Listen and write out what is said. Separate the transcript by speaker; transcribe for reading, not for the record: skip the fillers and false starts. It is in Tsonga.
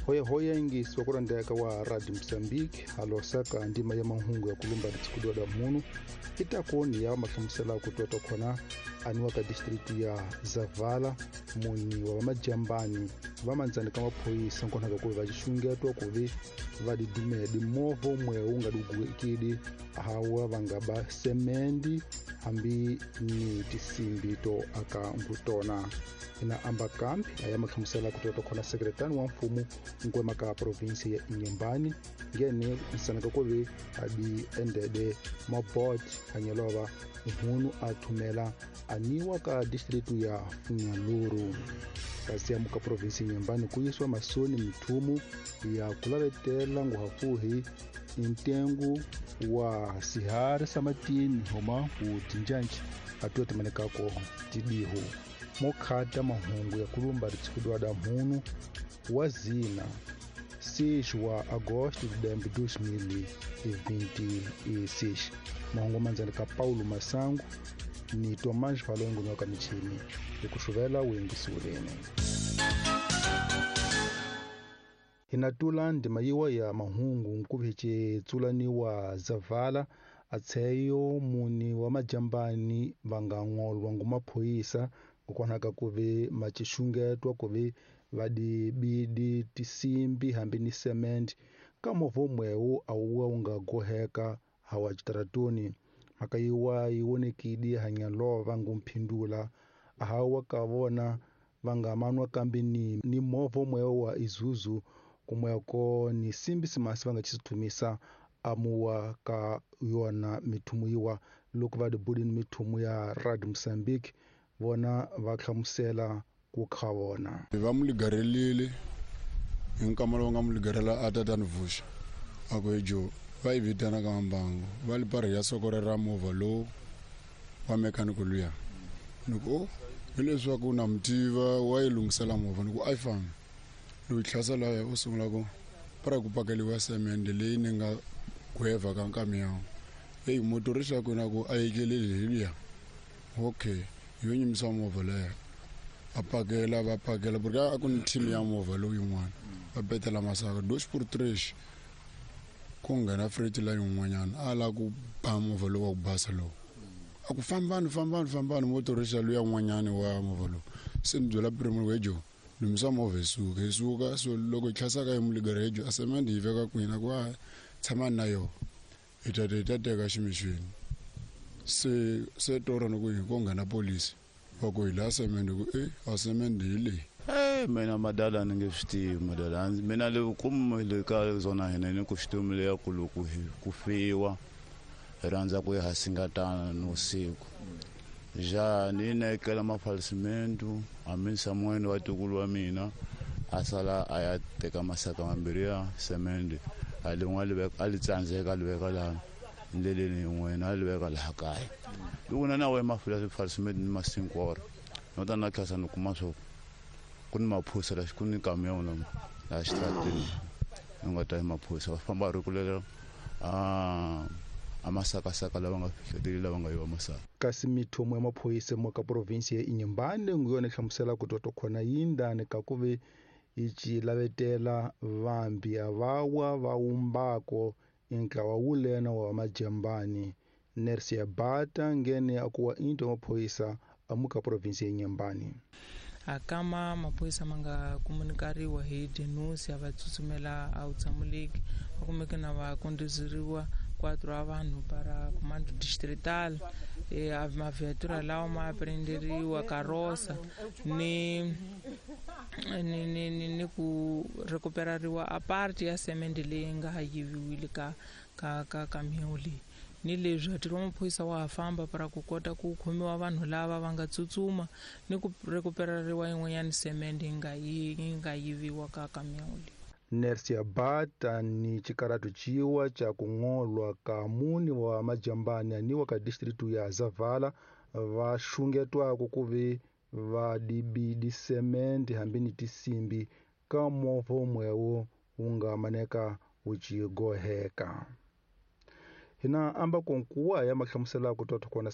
Speaker 1: Hoyahoya yingisi wa kurandeka wa Radio Mozambique halosaka ndima ya mahungu ya kulumba ritshikudiwa da munu itakoni ya mahlamusela ku tota khona aniwa ka district ya Zavala muni wa vamajambani va mandzani ka maphoyisa nkonaka ku va xungetwa ku vi va didumedi movha umwe wu nga dugekidi hawa va nga ba semendi hambi ni tisimbi to aka ngutona. Ina amba kambi aya mahlamusela ku tota khona sekretari wa mfumo nkwema ka provinsi ya Inhambane ngene nsanaka ku vi adi endede mabot anyelova mhunu a thumela aniwa ka district ya Funhalouro. Kasi ya muka provinsi Inhambane ku yisiwa masoni mithumu ya kulavetela nguhafuhi ntengu wa sihari samatini homa ku tinjanji atuwa timanekako tidihu mokhata mahungu ya kulumba ritshikudiwa da mhunu wa zina 6 wa agosto de 2026. Mahungu mandzani ka Paulo Masango ni Tomás Valongo nyoka michini hikuxuvela uyingisiwileni. Hinatula ndima yiwa ya mahungu nkuvice tsulaniwa Zavala atsheyo muni wa majambani va nga ng'olwa ngumaphoyisa kukwanaka kuve macixungetwa kuve vadibidi tisimbi hambi ni cement ka movha umwewu awuwa wu nga goheka hawa xitaratuni. Mhaka yiwa yi vonekile hanyalova ngumphindula hawa ka vona va nga manwa kambe ni movha umwewu wa Isuzu kumweko ni simbi simasi va nga xithumisa amuwa ka yona mithumu yiwa loko va dibudini mithumu ya Radio Mozambique vona va hlamusela ku kha vona.
Speaker 2: Va mu ligarelile hi nkama lowu nga mu ligarela a tatani vuxa a ku ejo va yi vitana ka mbangu va li parhi ya sokore ra movha lowu wa mechanical luya ni ku hileswaku na mutiva wa yi lunghisela movha ni ku a yi fambi loyi tlhasela ya u sungula ku para ku pakeliwa semende leyi ni nga gweva ka nkamiyawu eyi motorisi ya kona ku a yekeleli hi luya okay yo nyimisa movha leyo a pakela va pakela porque a ku ni team ya movha lowu yin'wana va betela masaka dos por tres ku nghena freight la yin'wanyana a la ku ba movha lowu wa ku basa lowu a ku fambani fambani fambani motorisi ya luya n'wanyana wa movha lowu se ni byela primo wejo lumisa movha hi suka hi suka so loko hi tlhasaka hi muligara hejo a semende yi veka kwini ku a tshamani na yona hi ta hi ta teka ximixini se tora ni ku hi ko nghena polisi va ku hi laha semende ku a semende hi leyi.
Speaker 3: Mina madala ni nge swi tivi madala mina le kumile ka zona hina ni ku xitomi leya ku loko ku fiwa hi rhandza ku ya hasingatana ni usiku ja ni nekela mafalsimentu hambi Samuel wa tukulu wa mina a sala a ya teka masaka mambirhi ya semende a lin'we a li tsandzeka a li veka laha ndleleni yin'wana a li veka laha kaya loko na na we mafalsimentu ni masinkoro no ta na tlhasa ni kuma swo ku ni maphoyisa la ku ni kamion la laha xitarateni ni nga ta hi maphoyisa va famba ri kulela a masakasaka lava nga fihleteli lava nga yiva masaka.
Speaker 1: Kasi mithumu ya maphoyisa mo ka provinsi ya Inhambane nguyona yi hlamusela ku toto khona yindani ka ku ve yi ci lavetela vambi avawa va wumbako intlawa wulena wa majambani. Nersia Bata ngene akuwa into ya maphoyisa amuka provinsi ya Inhambane.
Speaker 4: Akama maphoyisa ma nga komunikariwa hi denuncia va tsutsumela a wutshamuleki va kumeke na va kondizeriwa 4 a vanhu para comando distrital maviatura lawa ma prenderiwa karosa ni ni ni ni ku recuperariwa a parte ya semende leyi nga yiviwile ka ka ka kamion leyi. Ni leswi ntirho wa maphoyisa wa ha famba para ku kota ku khomiwa vanhu lava va nga tsutsuma ni ku recuperariwa yin'wanyana semende yi nga yiviwa ka kamion leyi.
Speaker 1: Nersia Bata ni xikaratu ciwa ca ku ng'olwa ka muni wa majambani aniwa ka district ya Zavala va xungetwako ku ve va dibidi semende hambi ni tisimbi ka movha umwewu wu nga maneka wu ci goheka. Hina amba konkuwa ya mahlamusela ku tota kona